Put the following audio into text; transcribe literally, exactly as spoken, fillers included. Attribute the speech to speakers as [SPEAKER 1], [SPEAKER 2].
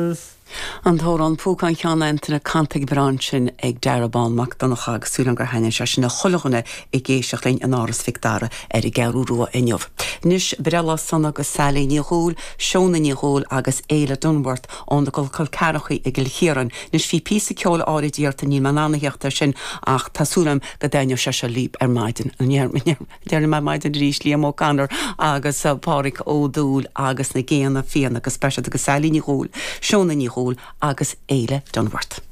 [SPEAKER 1] Christmas.
[SPEAKER 2] An t-amhrán Púcán Cheann Antaine canta go breá ansin ag Darragh Bán Mac Donncha agus súil gur thaitin sé sin le chuile dhuine ag éisteacht linn in Áras Mhic Dara ar an gCeathrú Rua inniu. Anois breithlá sona go Sally Ní Dhúil, Seona Ní Dhúil agus Éile Dunworth ó na Col Ceathrachaí i gCill Chiaráin. Anois bhí píosa ceoil áirid iarrta níl mé in ann a theacht air sin ach tá súil agam go dtaitneoidh sé seo libh ar maidin Deir mé maidin arís Liam O'Connor agus uh, Pádraig Ó Dúill agus na Géanna Fiáine agus speisialta go Sally Ní Dhúil, Seona Ní Dhúil agus Éile Dunworth.